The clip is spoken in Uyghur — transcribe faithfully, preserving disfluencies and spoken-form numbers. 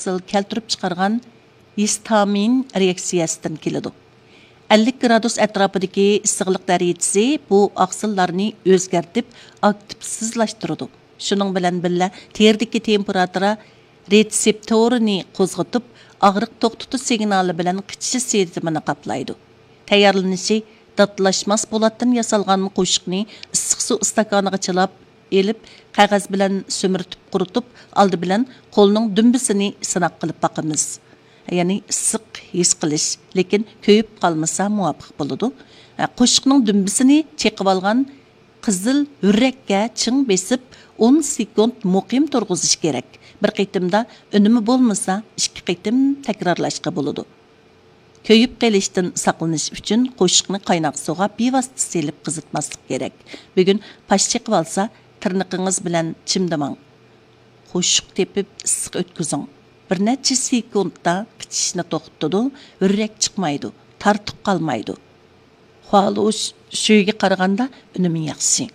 ئاقسىل كەلتۈرۈپ چىقارغان ھىستامىن رېئاكسىيەسىدىن كېلىدۇ. ئەللىك گرادۇس ئەتراپىدىكى ئىسسىقلىق دەرىجىسى بۇ ئاقسىللارنى ئۆزگەرتىپ، ئاكتىپسىزلاشتۇرىدۇ. شۇنىڭ بىلەن بىللە، تېرىدىكى تېمپېراتۇرا رېتسېپتورىنى قوزغىتىپ، ئاغرىق توختىتىش سىگنالى بىلەن قىچىشىش سېزىمىنى قاپلايدۇ. تەييارلىنىشى: داتلاشماس پولاتتىن ياسالغان قوشۇقنى ئىسسىق سۇ ئىستاكانىغا چىلاپ ئېلىپ، قەغەز بىلەن سۈمۈرتۈپ قۇرۇتۇپ، ئالدى بىلەن قولنىڭ دۈمبىسىنى سىناق قىلىپ باقىمىز. يەنى ئىسسىق ھېس قىلىش، لېكىن كۆيۈپ قالمىسا مۇۋاپىق بولىدۇ. قوشۇقنىڭ دۈمبىسىنى چېقىۋالغان قىزىل ھۆررەككە چىڭ بېسىپ، ئون سېكۇنت مۇقىم تۇرغۇزۇش كېرەك. بىر قېتىمدا ئۈنۈمى بولمىسا، ئىككى قېتىم تەكرارلاشقا بولىدۇ. كۆيۈپ قېلىشتىن ساقلىنىش ئۈچۈن، قوشۇقنى قايناق سۇغا بىۋاسىتە سېلىپ قىزىتماسلىق كېرەك. بۈگۈن پاش چېقىۋالسا، تىرنىقىڭىز بىلەن چىمدىماڭ. قوشۇق تېپىپ ئىسسىق ئۆتكۈزۈڭ. بىر نەچچە سېكۇنتتا قىچىشىشنى توختىتىدۇ، ھۆررەك چىقمايدۇ، تارتۇق قالمايدۇ. خۇالۇش شۈيگە قارىغاندا ئۈنۈمى ياخشى.